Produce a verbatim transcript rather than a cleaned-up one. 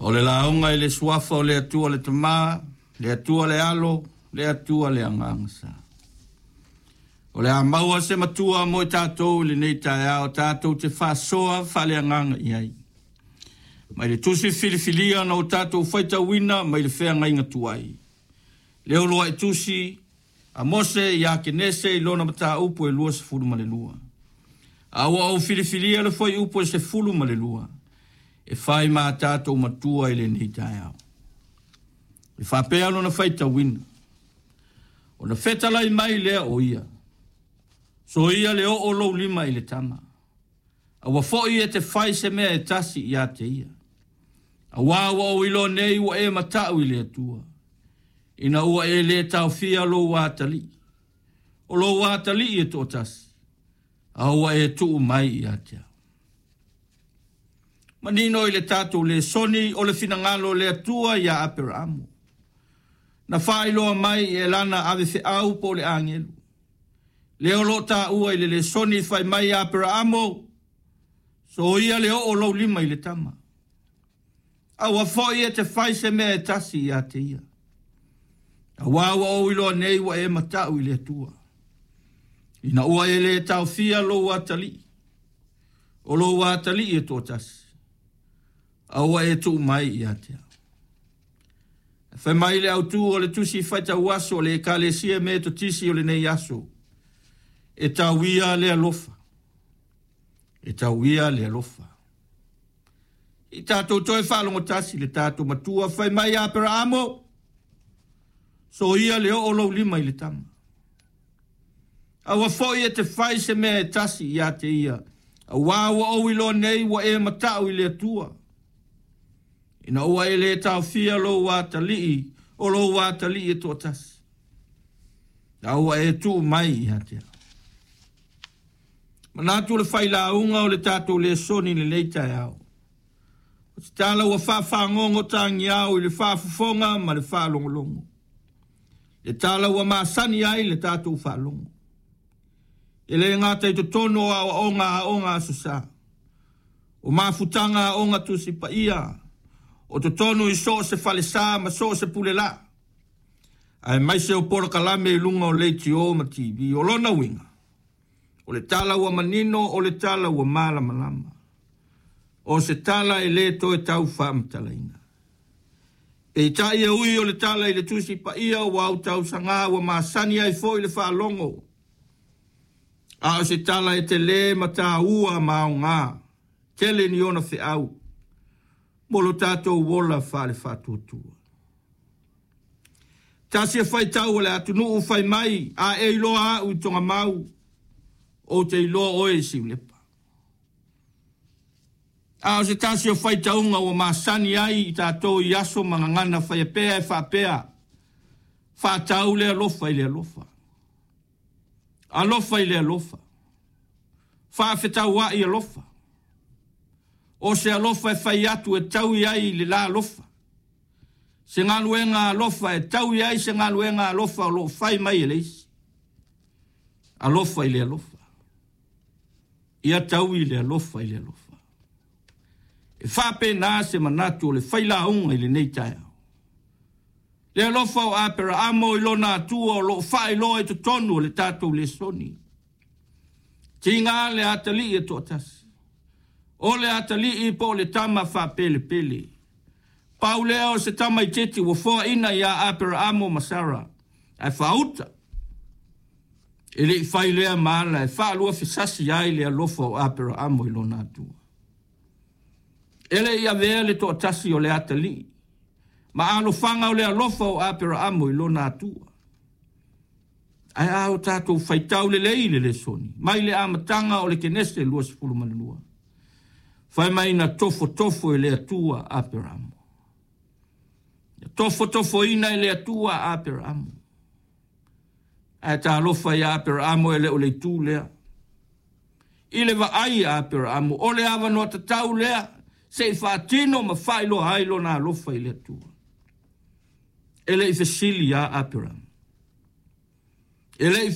O le lauga i le suafa o le Atua le Tama, le Atua le Alo, le Atua le Agaga Sa. O le a maua se matua mo i tatou i lenei taeao, tatou te faasoa faaleagaga i ai. Mai le tusi filifilia na o tatou faitauina mai le feagaiga tuai. Le uluai tusi a Mose ia Kenese i lona mataupu e luasefulu ma le lua. A ua ou filifilia le fuaiupu e sefulu ma le lua, e fai ma tatou matua i lenei taeao. E faapea lona faitauina. Ona fetalai mai lea o ia. Soia le oo lou lima i le tama. Aua foi e te fai se mea e tasi ia te ia. Auā ua ou iloa nei ua e mata'u i le Atua. Ina ua e lē taofia lou atalii. O lou atalii e toatasi. A ua e tuu mai ia te au. Manino i le tatou lesoni o le finagalo o le Atua ia Aperaamo. Na faailoa mai e lana avefeau po o le agelu. Lea o loo taua i le lesoni fai mai Aperaamo, soia le oo lou lima i le tama. Aua foi e te fai se mea e tasi ia te ia. Auā ua ou iloa nei ua e mata'u i le Atua. Ina ua e lē taofia lou atalii. O lou atalii e toatasi. A ua e tuu mai ia te au. Fai mai le autū o le tusi faitau aso o le Ekalesia Metotisi o lenei aso. E tauia le alofa. E tauia le alofa. I tatou toe faalogotasi le tatou matua fai mai Aperaamo, soia le oo lou lima i le tama. Aua foi e te fai se mea e tasi ia te ia. Auā ua ou iloa nei ua e mata'u i le Atua. Ina ua e lē taofia lou atalii, o lou atalii e toatasi. A ua e tuu mai ia te au. Manatu le failauga o le tatou lesoni i lenei taeao. O se tala ua faafagogo tagiao i le faafofoga ma le faalogologo. Le tala ua masani ai le tatou faalogo. E le gata i totonu o aoaoga aoga Aso Sa. O mafutaga aoga Tusi Paia. O totonu i so o se falesa ma so o se pulelaa. Aemaise o polokalame i luga o leitio ma T V. O lona uiga. O le tala ua manino, o le tala ua malamalama. O se tala e lē toe tau faamatalaina. Peitai e ui o le tala i le Tusi Paia ua autausagā ua masani ai foi le faalogo. A o se tala e telē ma tāua ma aogā, tele ni ona feau, mo lo tatou ola faalefaatuatua. Tasi e faitau o le atunuu fai mai, a e iloa au i Togamau, ou te iloa oe i Siulepa. A o se tasi o faitauga ua masani ai i tatou i aso ma gagana faiapea e faapea, faatau le alofa i le alofa. Alofa i le alofa. Faafetauai alofa. O se alofa e fai atu e taui ai le la alofa. Se galuega alofa e taui ai se galuega alofa o loo fai mai e le isi. Alofa i le alofa. Ia taui le alofa i le alofa. E faapena se manatu o le failauga i lenei taeao. Le alofa o Aperaamo i lona Atua o loo faailoa i totonu o le tatou lesoni. Tiga le atalii e toatasi. O le atalii po o le tama faapelepele. Pau lea o se tamaitiiti ua foaina ia Aperaamo ma Sara. Ae faauta. E lei fai lea ma ala e faalua fesasi ai le alofa o Aperaamo i lona Atua. E le i avea le toatasi o le atalii. Ma alofaga o le alofa o Aperaamo i lona Atua. Ae a o tatou faitau lelei i le lesoni. Mai le amataga o le Kenese luasefulu ma le lua. Fai mai na tofotofo e le Atua Aperaamo. Tofotofoina e le Atua Aperaamo. Ae talofa ia Aperaamo e le o le itu lea. I le vaai a Aperaamo, o le avanoa tatau lea, se i faatino ma faailoa ai lona alofa i le Atua. E le i fesili ia Aperaamo. E le i